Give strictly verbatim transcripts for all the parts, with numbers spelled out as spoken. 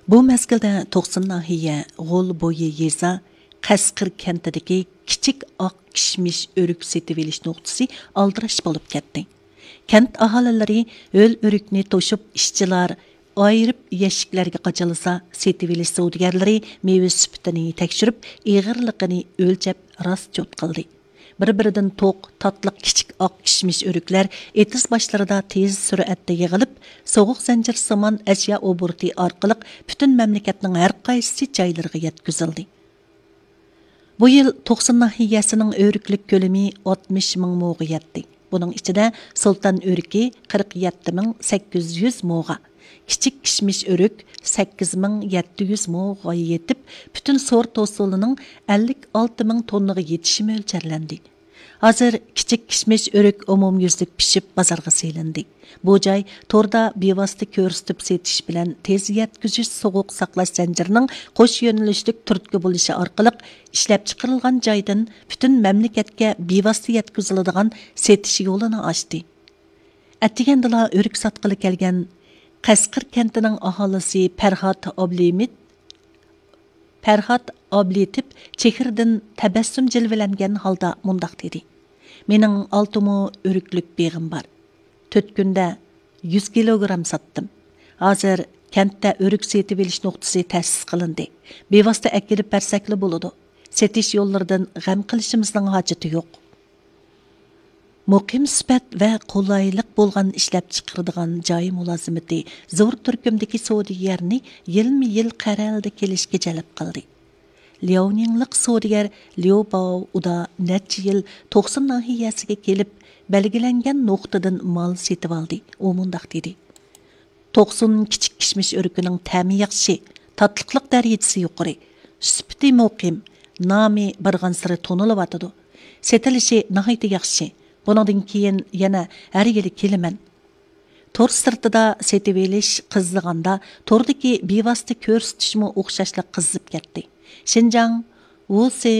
بۇ مەزگىلدە توقسۇن ناھىيە غول بويى يېزا قەسقىر كەنتىدىكى كىچىك ئاق كىشمىش ئۆرۈك سېتىۋېلىش نۇقتىسى ئالدىراش بولۇپ كەتتى. كەنت ئاھالىلىرى ھۆل ئۆرۈكنى توشۇپ، ئىشچىلار ئايرىپ يەشىكلەرگە قاچىلىسا، سېتىۋېلىش سودىگەرلىرى مېۋە سۈپىتىنى تەكشۈرۈپ، ئېغىرلىقىنى ئۆلچەپ راست چوت قىلدى. بىر-بىرىدىن توق، تاتلىق كىچىك ئاق كىشمىش ئۆرۈكلەر ئېتىز باشلىرىدا تېز سۈرئەتتە يىغىلىپ، سوغۇق زەنجىرسىمان ئەشيا ئوبوروتى ئارقىلىق پۈتۈن مەملىكەتنىڭ ھەر قايسى جايلىرىغا يەتكۈزۈلدى. بۇ يىل توقسۇن ناھىيەسىنىڭ ئۆرۈكلۈك كۆلىمى ئاتمىش مىڭ موغا يەتتى. بۇنىڭ ئىچىدە سۇلتان ئۆرۈكى قىرىق يەتتە مىڭ سەككىز يۈز موغا، كىچىك كىشمىش ئۆرۈك سەككىز مىڭ يەتتە يۈز موغا يېتىپ، پۈتۈن سورت ھوسۇلىنىڭ ئەللىك ئالتە مىڭ توننىغا يېتىشى مۆلچەرلەندى. ھازىر كىچىك كىشمىش ئۆرۈك ئومۇميۈزلۈك پىشىپ بازارغا سېلىندى. بۇ جاي توردا بىۋاسىتە كۆرسىتىپ سېتىش بىلەن تېز يەتكۈزۈش سوغۇق ساقلاش زەنجىرىنىڭ قوش يۆنىلىشلىك تۈرتكە بولۇشى ئارقىلىق ئىشلەپچىقىرىلغان جايدىن پۈتۈن مەملىكەتكە بىۋاسىتە يەتكۈزۈلىدىغان سېتىش يولىنى ئاچتى. ئەتىگەندىلا ئۆرۈك ساتقىلى كەلگەن قەسقىر كەنتىنىڭ ئاھالىسى پەرھات ئابلىمىت پەرھات ئابلىتىپ چېھرىدىن تەبەسسۇم جىلۋىلەنگەن ھالدا مۇنداق دېدى: «مېنىڭ ئالتە مو ئۆرۈكلۈك بېغىم بار. تۆت كۈندە يۈز كىلوگرام ساتتىم. ھازىر كەنتتە ئۆرۈك سېتىۋېلىش نۇقتىسى تەسىس قىلىندى. بىۋاسىتە ئەكېلىپ بەرسەكلا بولىدۇ. سېتىش يوللىرىدىن غەم قىلىشىمىزنىڭ ھاجىتى يوق.» مۇقىم سۈپەت ۋە قولايلىق بولغان ئىشلەپچىقىرىدىغان جاي مۇلازىمىتى زور تۈركۈمدىكى سودىگەرنى يىلمۇ يىل قەرەلدە كېلىشكە جەلپ قىلدى. لياۋنىڭلىق سودىگەر ليۇ باۋ ئۇدا نەچچە يىل توقسۇن ناھىيەسىگە كېلىپ، بەلگىلەنگەن نۇقتىدىن مال سېتىۋالدى. ئۇ مۇنداق دېدى: «توقسۇن كىچىك كىشمىش ئۆرۈكىنىڭ تەمى ياخشى، تاتلىقلىق دەرىجىسى يۇقىرى، سۈپىتى مۇقىم، نامى بارغانسېرى تونۇلۇۋاتىدۇ. سېتىلىشى ناھايىتى ياخشى. بۇنىڭدىن كېيىن يەنە ھەر يىلى كېلىمەن.» تور سىرتىدا سېتىۋېلىش قىزىغاندا، توردىكى بىۋاسىتە كۆرسىتىشمۇ ئوخشاشلا قىزىپ كەتتى. شىنجاڭ ۋۇسى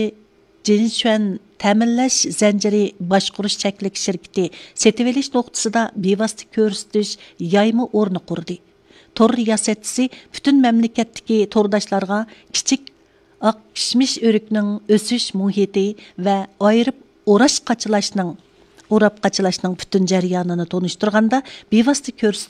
جىنشۈەن تەمىنلەش زەنجىرى باشقۇرۇش چەكلىك شىركىتى سېتىۋېلىش نۇقتىسىدا بىۋاسىتە كۆرسىتىش يايما ئورنى قۇردى. تور رىياسەتچىسى پۈتۈن مەملىكەتتىكى تورداشلارغا كىچىك ئاق كىشمىش ئۆرۈكنىڭ ئۆسۈش مۇھىتى ۋە ئايرىپ ئوراش قاچىلاشنىڭ، ئوراپ قاچىلاشنىڭ پۈتۈن جەريانىنى تونۇشتۇرغاندا، بىۋاسىتە كۆرسىتىش